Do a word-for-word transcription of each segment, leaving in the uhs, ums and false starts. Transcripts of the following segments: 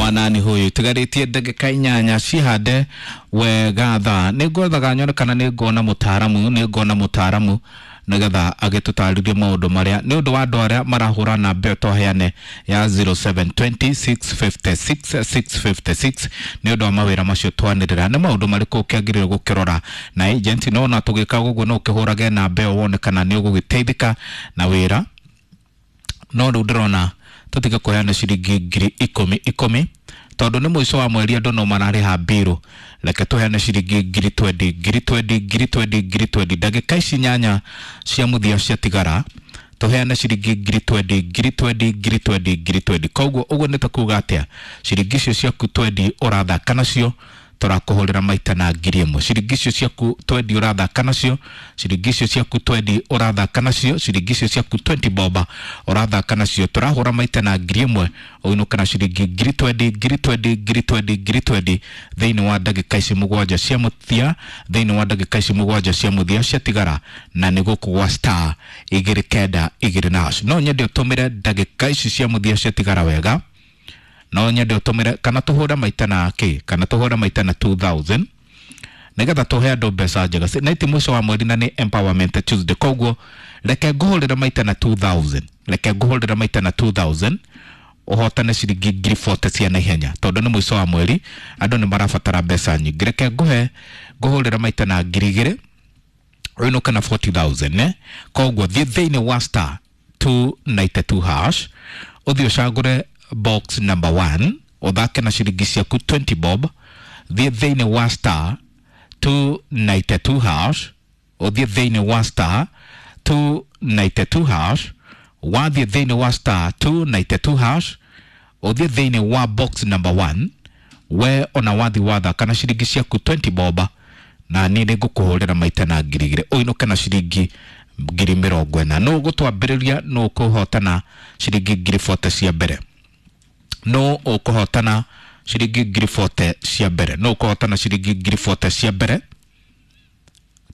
Wa nani huyu? Tigarĩtie ndagĩka inyanya cihande wega thaa. Nĩ ngwethaga nyone kana nĩ nguona mũtaaramu, nĩ nguona mũtaaramu nĩgetha agĩtũtarĩrie maũndũ marĩa nĩ ũndũ wa andũ arĩa marahũra namba ĩyo twaheane ya zero seven twenty six fifty six six fifty six nĩ ũndũ wa mawĩra macio twanĩrĩra. Nĩ maũndũ marĩkũ ũkĩagĩrĩirwo gũkĩrora na agent? No ona tũgĩka ũguo no ũkĩhũrage namba ĩyo wone kana nĩ ũgũgĩteithĩka na wĩra. No rĩu ndĩrona tũtige kũheana ciringi ngiri ikũmi ikũmi tondũ nĩ mũico wa mweri, andũ no mararĩha mbirũ. Reke tũheane ciringi ngiri twendi, ngiri twendi, ngiri twendi, ngiri twendi. Ndagĩka ici nyanya cia mũthia ciatigara, tũheane ciringi ngiri twendi, ngiri twendi, ngiri twendi, ngiri twendi. Koguo ũguo nĩ ta kuga atĩa? Ciringi icio ciaku twendi ũrathaka nacio, tũrakũhũrĩra maita na ngiri ĩmwe. Ciringi icio ciaku twendi ũrathaka nacio, ciringi icio ciaku twendi ũrathaka nacio, ciringi icio ciaku twenty boba ũrathaka nacio, tũrahũra maita na ngiri ĩmwe, ũinũke na ciringi ngiri twendi, ngiri twendi, ngiri twendi, ngiri twendi thĩinĩ wa ndagĩka ici mũgwanja cia mũthia, thĩinĩ wa ndagĩka ici mũgwanja cia mũthia ciatigara, na nĩ gũkũ gwa star igĩrĩ kenda igĩrĩ na hash. No nyende ũtũmĩre ndagĩka ici cia mũthia ciatigara wega. No nyende ũtũmĩre kana tũhũre maita na kĩ, kana tũhũre maita na two thousand nĩgetha tũhe andũ mbeca njega. Na ti mũico wa mweri na nĩ Empowerment Tuesday, koguo reke ngũhũrĩre maita na two thousand, reke ngũhũrĩre maita na two thousand ũhotane ciringi ngiri forty cia naihenya tondũ nĩ mũico wa mweri, andũ nĩ marabatara mbeca nyingĩ. Reke ngũhe ngũhũrĩre maita na ngiri igĩrĩ ũinũke na forty thousand, eh? Koguo thiĩ thĩinĩ wa star two ninety two hash, ũthiĩ ũcagũre box number one, ũthake na ciringi ciaku twenty bob. Thiĩ thĩinĩ wa star two ninety two hash, ũthiĩ thĩinĩ wa star two ninety two hash, wathiĩ thĩinĩ wa star two ninety two hash, ũthiĩ thĩinĩ wa box number one, we ona wathi wathaka na ciringi ciaku twenty bob, na niĩ nĩ ngũkũhũrĩra maita na ngiri igĩrĩ ũinũke na ciringi ngiri mĩrongo ĩna. Nũ ũgũtwambĩrĩria? Nũ ũkũhotana ciringi ngiri forty cia mbere? Nũ ũkũhotana ciringi ngiri forty cia mbere? Nũ ũkũhotana ciringi ngiri forty cia mbere?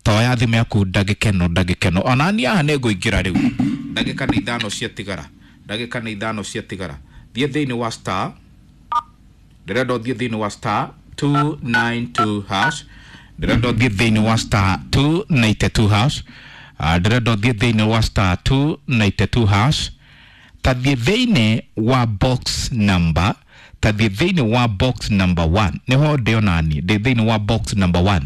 Toya thimũ yaku ndagĩka ĩno, ndagĩka ĩno. Ona niĩ haha nĩ ngũingĩra rĩu. Ndagĩka nĩ ithano ciatigara, ndagĩka nĩ ithano ciatigara. Thiĩ thĩinĩ wa star, ndĩrenda ũthiĩ thĩinĩ wa star two nine two hash, ndĩrenda ũthiĩ thĩinĩ wa star two ninety two hash, ndĩrenda ũthiĩ thĩinĩ wa star two ninety two hash. Tathiĩ thĩinĩ wa box number, tathiĩ thĩinĩ wa box number one, nĩho ndĩ onani, ndĩ thĩinĩ wa box number one.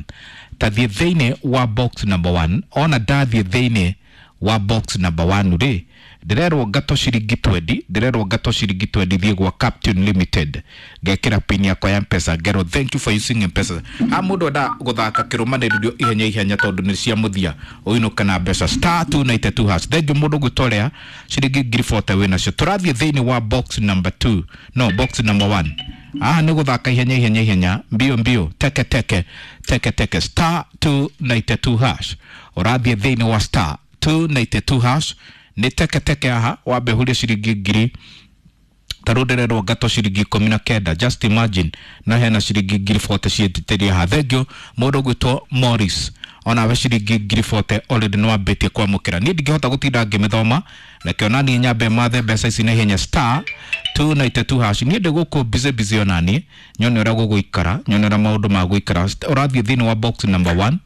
Tathiĩ thĩinĩ wa box number one. Ona ndathiĩ thĩinĩ wa box number one rĩ, ndĩrerwo ngato ciringi twenty, ndĩrerwo ngato ciringi twenty thiĩ gwa Captain Limited, ngekĩra pin yakwa ya M-Pesa, ngerwo thank you for using M-Pesa. Ha mũndũ enda gũthaka kĩrũmanĩrĩrio ihenya ihenya tondũ nĩ cia mũthia, ũinũke na mbeca star two ninety two hash. Thank you mũndũ gwĩtorea ciringi ngiri forty wĩnacio. Tũrathiĩ thĩinĩ wa box number two, no box number one. Haha nĩ gũthaka ihenya ihenya ihenya, mbio mbio, teke teke teke teke, star two ninety two hash. Ũrathiĩ thĩinĩ wa star two ninety two hash, nĩ teke teke haha, wambe ũhũrie ciringi ngiri tarũ ndĩrerwo ngato ciringi ikũmi na kenda. Just imagine, na hena ciringi ngiri forty ciĩtĩtĩria haha. Thank you mũndũ ũgwĩtwo Morris, onawe ciringi ngiri forty already nĩ wambĩtie kwamũkĩra. Niĩ ndingĩhota gũtinda ngĩmĩthoma, reke ona niĩ nyambe mathe mbeca ici na ihenya star two ninety two hash. Niĩ ndĩ gũkũ busy busy ona niĩ nyone ũrĩa gũgũikara, nyone ũrĩa maũndũ ma gũikara. Ũrathiĩ thĩinĩ wa box number one,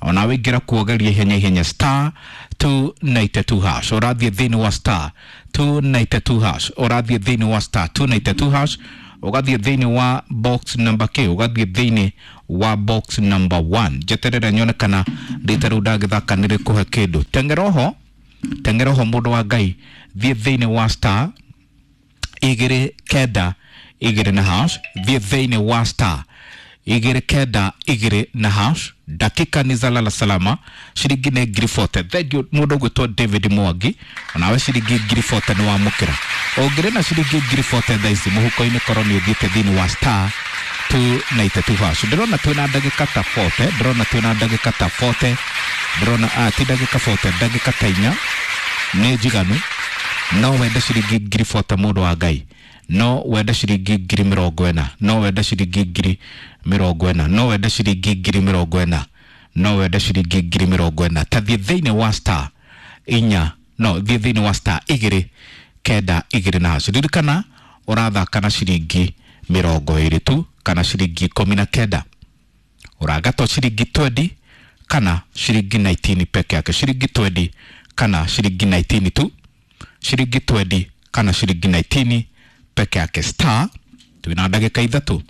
ona wĩingĩra kuogeria ihenya ihenya star two ninety two hash. Ũrathiĩ thĩinĩ wa star two ninety two hash, ũrathiĩ thĩinĩ wa star two ninety two hash, ũgathiĩ thĩinĩ wa box number K, ũgathiĩ thĩinĩ wa box number one. Njeterere nyone kana rita rĩu ndagĩthaka nĩ rĩkũhe kĩndũ. Teng'era oho, teng'era oho mũndũ wa Ngai, thiĩ thĩinĩ wa star igĩrĩ kenda igĩrĩ na hash, thiĩ thĩinĩ wa star igĩrĩ kenda igĩrĩ na hash. Dakika ni za lala salama, ciringi nĩ ngiri forty. Thank you mũndũ ũgwĩtwo David Mwangi, onawe ciringi ngiri forty nĩ wamũkĩra. Ũngĩrĩ na ciringi ngiri forty thaa ici mũhuko-inĩ, korwo nĩ ũthiĩte thĩinĩ wa star two ninety two hash. Ndĩrona twĩna ndagĩka ta forty, ndĩrona twĩna ndagĩka ta forty, ndĩrona, ah, ti ndagĩka forty, ndagĩka ta inya nĩ njiganu. No wende ciringi ngiri forty mũndũ wa Ngai, no wende ciringi ngiri mĩrongo ĩna, no wende ciringi ngiri mĩrongo ĩna, no wende ciringi ngiri mĩrongo ĩna, no wende ciringi ngiri mĩrongo ĩna. Ta thiĩ thĩinĩ wa star inya, no thiĩ thĩinĩ wa star igĩrĩ kenda igĩrĩ na hash. Ririkana ũrathaka na ciringi mĩrongo ĩrĩ tu kana ciringi ikũmi na kenda. Ũrangatwo ciringi twenty kana ciringi nineteen peke yake, ciringi twenty kana ciringi nineteen tu, ciringi twenty kana ciringi nineteen peke yake. Star twina ndagĩka ithatũ.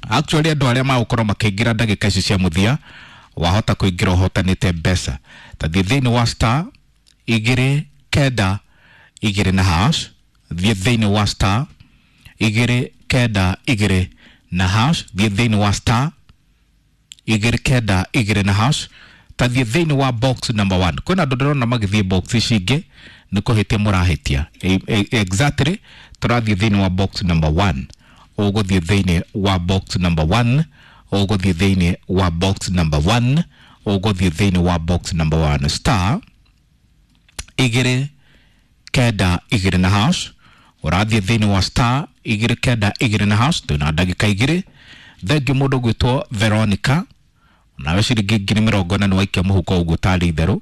Actually andũ arĩa magũkorwo makĩingĩra ndagĩka ici cia mũthia wahota kũingĩra ũhotanĩte mbeca. Ta thiĩ thĩinĩ wa star igĩrĩ kenda igĩrĩ na hash, thiĩ thĩinĩ wa star igĩrĩ kenda igĩrĩ na hash, thiĩ thĩinĩ wa star igĩrĩ kenda igĩrĩ na hash, ta thiĩ thĩinĩ wa box number one. Kwĩna andũ ndĩrona magĩthiĩ box ici ingĩ nĩ kũhĩtia mũrahĩtia. Exactly tũrathiĩ thĩinĩ wa box number one. Ũgũthiĩ thĩinĩ wa box number one, ũgũthiĩ thĩinĩ wa box number one, ũgũthiĩ thĩinĩ wa box number one. Star igĩrĩ kenda igĩrĩ na hash, ũrathiĩ thĩinĩ wa star igĩrĩ kenda igĩrĩ na hash. Twĩna ndagĩka igĩrĩ. Thengiũ mũndũ ũgwĩtwo Veronica, onawe ciringi ngiri mĩrongo ĩna nĩwaikia mũhuko ũguo tarĩ itherũ.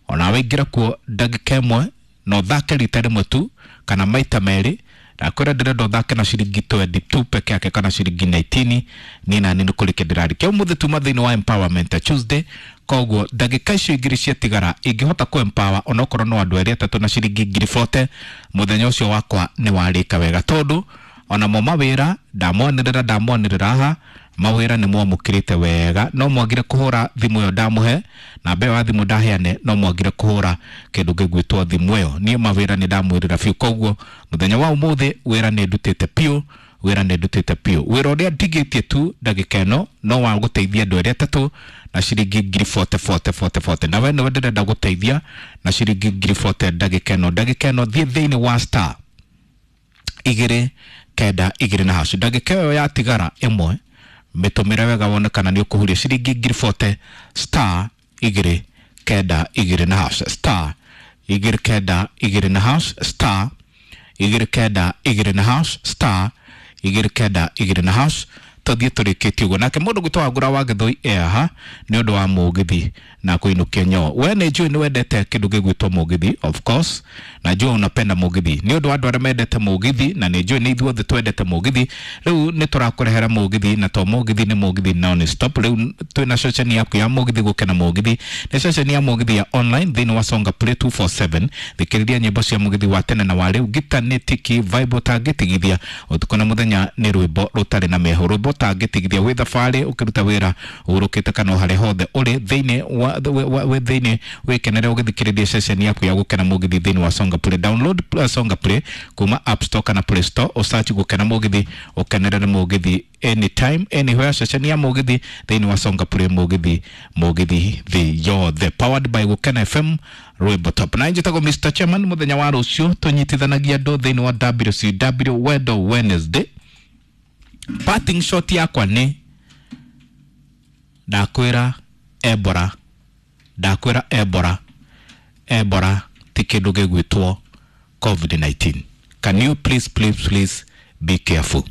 Onawe ingĩra kuo ndagĩka ĩmwe na ũthake rita rĩmwe tu kana maita merĩ. Ndakwĩra ndĩrenda ũthake na ciringi twenty tu peke yake kana ciringi nineteen. Niĩ nani nĩ kũrĩkia ndĩrarĩkia ũmũthĩ tuma thĩinĩ wa Empowerment Tuesday. Koguo ndagĩka icio igĩrĩ ciatigara ingĩhota kũ empower onokorwo no andũ erĩ atatũ na ciringi ngiri forty, mũthenya ũcio wakwa nĩ warĩka wega, tondũ onamo mawĩra ndamwanĩrĩra ndamwanĩrĩra haha mawĩra nĩ mwamũkĩrĩte wega. No mwagire kũhũra thimũ ĩyo ndamũhe, namba ĩyo ya thimũ ndaheane, no mwagire kũhũra kĩndũ gĩgwĩtwo thimũ ĩyo. Niĩ mawĩra nĩ ndamwĩrĩra biũ, koguo mũthenya wa ũmũthĩ wĩra nĩ ndutĩte biũ, wĩra nĩ ndutĩte biũ. Wĩra ũrĩa ndigĩtie tu ndagĩka ĩno no wa gũteithia andũ erĩ atatũ na ciringi ngiri forty forty forty forty. Na we nĩwe ndĩrenda gũteithia na ciringi ngiri forty ndagĩka ĩno. Ndagĩka ĩno thiĩ thĩinĩ wa star igĩrĩ kenda igĩrĩ na hash. Ndagĩka ĩyo yatigara ĩmwe mĩtũmĩre wega wone kana nĩ ũkũhuria ciringi ngiri forty. Star igĩrĩ kenda igĩrĩ na hash, star igĩrĩ kenda igĩrĩ na hash, star igĩrĩ kenda igĩrĩ na hash, star igĩrĩ kenda igĩrĩ na hash. Tũthiĩ tũrĩkĩtie ũguo. Nake mũndũ gwĩtwo Wangũra wa Gĩthũi ehaha nĩ ũndũ wa mũgithi na kũinũkia nyoo. We nĩ njũĩ nĩ wendete kĩndũ gĩgwĩtwo mũgithi, of course najua unapenda mũgithi. Nĩ ũndũ wa andũ arĩa mendete mũgithi, na nĩ njũĩ nĩ ithuothe twendete mũgithi, rĩu nĩ tũrakũrehera mũgithi, na to mũgithi nĩ mũgithi non stop. Rĩu twĩna ceceni yaku ya mũgithi gũkena mũgithi, nĩ ceceni ya mũgithi ya online thĩinĩ wa Songa Play two four seven. Thikĩrĩria nyĩmbo cia mũgithi wa tene na wa rĩu, gita nĩ tiki vibe ũtangĩtigithia ũtukũ na mũthenya, nĩ rwĩmbo rũtarĩ na mehũ, rwĩmbo ũtangĩtigithia wĩ thabarĩ, ũkĩruta wĩra, ũhurũkĩte kana o harĩa hothe ũrĩ thĩinĩ wa wĩ thĩinĩ wĩkenere ũgĩthikĩrĩria ceceni yaku ya gũkena mũgithi thĩinĩ wa Songa Play. Download Songa Play kuma App Store kana Play Store, ũsearch gũkena mũgithi, ũkenerere mũgithi anytime anywhere. Ceceni ya mũgithi thĩinĩ wa Songa Play, mũgithi mũgithi thĩ yothe, powered by Gũkena F M rwĩmbo top. Na njĩtagwo Mister Chairman. Mũthenya wa rũciũ tũnyitithanagia andũ thĩinĩ wa W C W Wendo Wednesday. Parting shot yakwa nĩ ndakwĩra Ebola, ndakwĩra Ebola, Ebola ti kĩndũ gĩgwĩtwo COVID nineteen. Can you please please please be careful?